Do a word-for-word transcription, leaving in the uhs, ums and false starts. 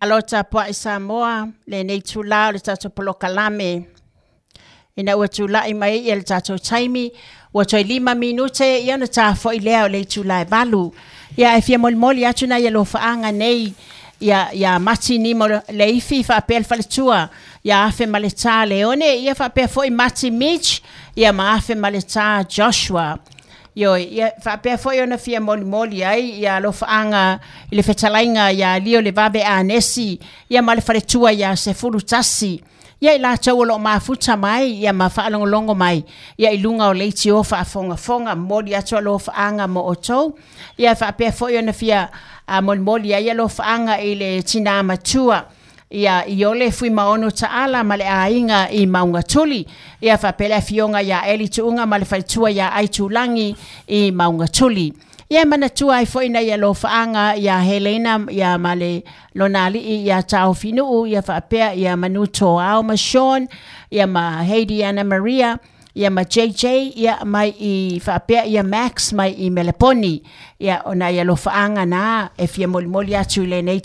Alo tapuai Samoa, lenei itulā o le tatou polokalame ina ua tula'i mai ai le tatou taimi ua toe lima minute ia ona tafo'i lea o le itulā e valu. Ia e fia molimoli atu nai alofaaga nei ia ia Mati Nimo Leifi faapea le faletua ia Afe ma le Tā Leone, ia faapea foi Mati Mitch ia ma Afe ma le Tā Joshua. Ioe, ia faapea foi ona fia molimoli ai ia alofaaga i le fetalaiga ia Lio le Vave Anesi ia ma le faletua ia Sefulu Tasi ia i latou o loo mafuta mai ia ma faalogologo mai ia i luga o leitio faafogafoga. Momoli atu alofaaga mo outou. Ia faapea foi ona fia molimoli ai alofaaga i le tinā matua ia Iole Fuimaono Taala ma le aiga i Maugatuli, ia faapea le afioga ia Eli Tuuga ma le faletua ia Aitulagi i Maugatuli. Ia manatua ai foi nai alofaaga ia Helena ia ma le lona alii ia Taofinuu, ia faapea ia Manuto Ao ma Sean ia ma Heidi Anna Maria ia ma J J ia mai i faapea ia Max mai i Meleponi. Ia o nai alofaaga na e fia molimoli atu i lenei.